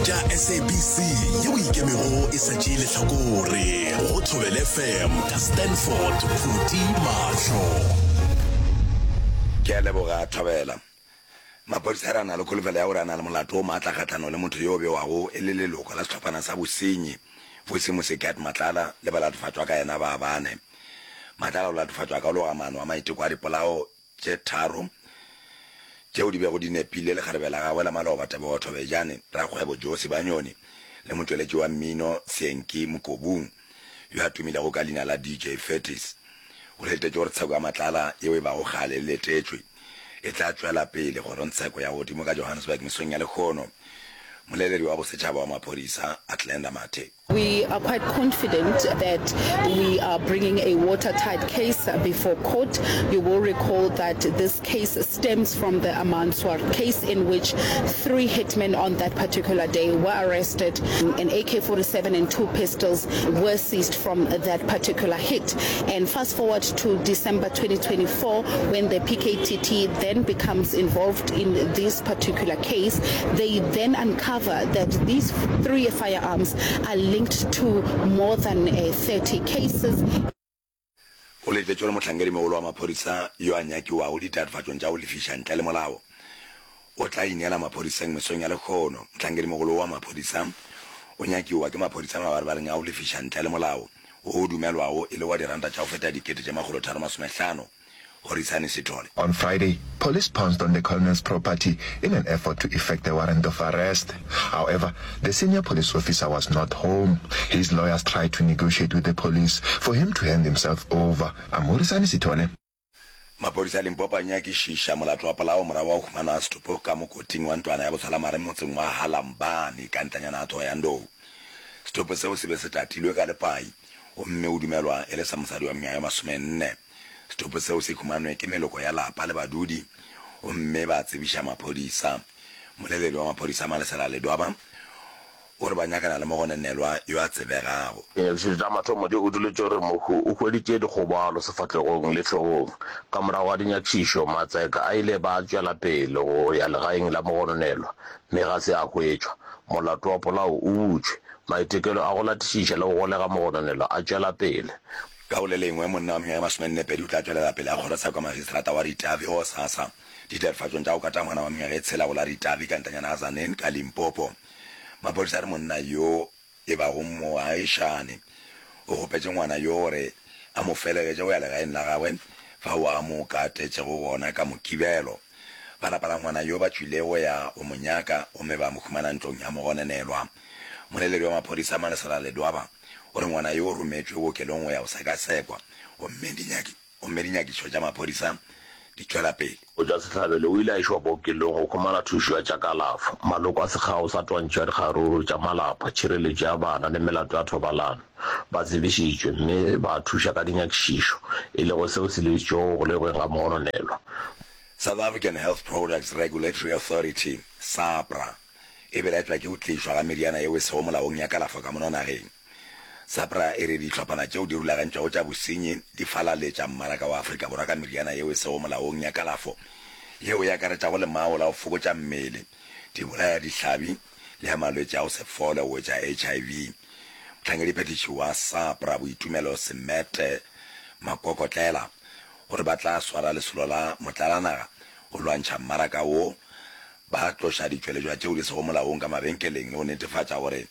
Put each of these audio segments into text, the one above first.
Tša SABC yeo e ikemego e sa tšee lehlakore go Thobela FM ka Stanford Phuti Mahlo. Ke a leboga Thobela. Maphodisa a re a na le kholofelo ya gore a na le molato o maatla kgahlanong le motho yo o bewago e le leloko la sehlophana sa bosenyi Vusi Musikat Matlala le balatofatšwa ka yena ba bane. Matlala o latofatšwa ka go loga maano a maiteko a dipolao tše tharo tšeo di bego di nepile lekgarebe la gagwe la maloba Tebogo Thobejane, rakgwebo Joe Sibanyoni le motšweletši wa mmino Seanki Mokobung yo a tumilego ka leina la DJ Furtis. O letetše gore tsheko ya Matlala yeo e bago kgale e letetšwe e tla tšwela pele kgorongtsheko ya godimo ka Johannesburg mesong ya lehono. Moleledi wa bosetšhaba wa maphodisa Athlenda Mathe. We are quite confident that we are bringing a watertight case before court. You will recall that this case stems from the Amanswar case in which three hitmen on that particular day were arrested. An AK-47 and two pistols were seized from that particular hit. And fast forward to December 2024 when the PKTT then becomes involved in this particular case, they then uncover that these three firearms are linked to more than 30 cases. O letetšwe le mohlankedimogolo wa maphodisa yo a nyakiwago ditatofatšong tša go lefiša ntle le molao o tla ineela maphodiseng mesong ya lehono. Mohlankedimogolo wa maphodisa o nyakiwa ke maphodisa mabarebareng a go lefiša ntle le molao wo o dumelwago e le wa diranta tša go feta 3650. Horisani Sithole. On Friday, police pounced on the colonel's property in an effort to effect a warrant of arrest. However, the senior police officer was not home. His lawyers tried to negotiate with the police for him to hand himself over. I'm Horisani Sithole. Maphodisa a Limpopo a nyakišiša molato wa polao morago ga go humanwa ga setopo ka mokoting wa ntlwana ya botshwelamare motseng wa Halambani ka ntlanyana ya Thohoyandou. Setopo seo se be se tatilwe ka lepai gomme o dumelwa e le sa mosadi wa mengwaga e masomenne. Setopo seo se humanwe ke meloko ya lapa le badudi gomme ba tsebiša maphodisa. Moleledi wa maphodisa Malesela Ledwaba o re ba nyakana le mogononelwa yo a tsebegago. Dinyakišišo tša mathomo di utolotše gore mohu o hweditše dikgobalo sefahlegong le hlogong. Ka morago ga dinyakišišo, matseka a ile ba tšwela pele go ya legaeng la mogononelwa mme ga se a hwetšwa. Molato wa polao o butšwe. Maitekelo a go latišiša le go golega mogononelwa a tšwela pele. Ka go le lengwe, monna wa mengwaga e masomennepedi o tla tšwelela pele ga kgorotsheko ya magistrata wa Ritavi gosasa ditatofatšong tša go kata ngwana wa mengwaga e tshela go la Ritavi ka ntlanyana ga Tzaneen ka Limpopo. Maphodisa a re monna yo e bago moagišani o kgopetše ngwana yo gore a mo felegetše go ya legaeng la gagwe fao a mo katetšego gona ka Mokibelo. Ba lapa la ngwana yo ba tšwile go ya go mo nyaka gomme ba mo humana ntlong ya mogononelwa. Moleledi wa maphodisa Malesela Ledwaba o re ngwana yo o rometšwe bookelong go ya go sekasekwa gomme dinyaki gomme dinyakišo tša maphodisa di tšwela pele. Go tšwa sehlabelo o ile a išwa bookelong go humana thušo ya tša kalafo. Maloko a sekgao sa twantšho ya dikgaruru tša malapa, tšhireletšo ya bana le melato ya thobalano ba tsebišitšwe mme ba thuša ka dinyakišišo, e lego seo se lebišitšwego go golegweng ga mogononelwa. South African Health Products Regulatory Authority, SAHPRA, e belaetšwa ke go tlišwa ga meriana yeo e sego molaong ya kalafo ka mono nageng. SAHPRA e re dihlophana tšeo di rulagantšwego tša bosenyi di falaletša mmaraka wa Afrika Borwa ka meriana yeo e sego molaong ya kalafo yeo e akaretšago lemao la go fokotša mmele, dibolaya-dihlabi le ya malwetši a go se fole go etša HIV. Mohlankedi-phethiši wa SAHPRA Boitumelo Semete Makokotlela o re ba tla swara lesolo la motlalanaga go lwantšha mmaraka wo Ba tloša ditšweletšwa tšeo di sego molaong ka mabenkeleng le go netefatša gore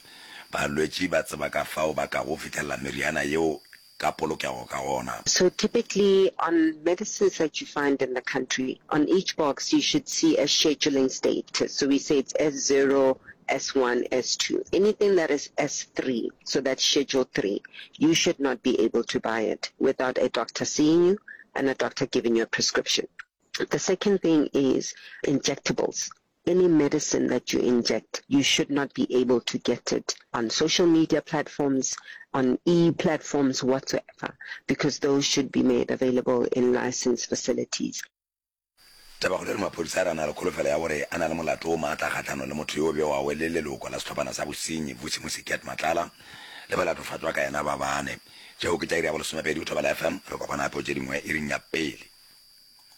balwetši ba tseba ka fao ba kago fihlelela meriana yeo ka polokego ka gona. So typically on medicines that you find in the country, on each box you should see a scheduling status. So we say it's S0, S1, S2. Anything that is S3, so that's schedule 3, you should not be able to buy it without a doctor seeing you and a doctor giving you a prescription. The second thing is injectables. Any medicine that you inject, you should not be able to get it on social media platforms, on e-platforms whatsoever, because those should be made available in licensed facilities. Tabakgolo e re maphodisa a re a na le kholofelo ya gore a na le molato wo maatla kgahlanong le motho yo bewago e le leloko la sehlophana sa bosenyi Vusimusi Cat Matlala le balatofatšwa ka yena ba bane. Tšeo ke tša iri ya bolesomepedi go Thobela FM. Re kopana gape go tše dingwe iring ya pele.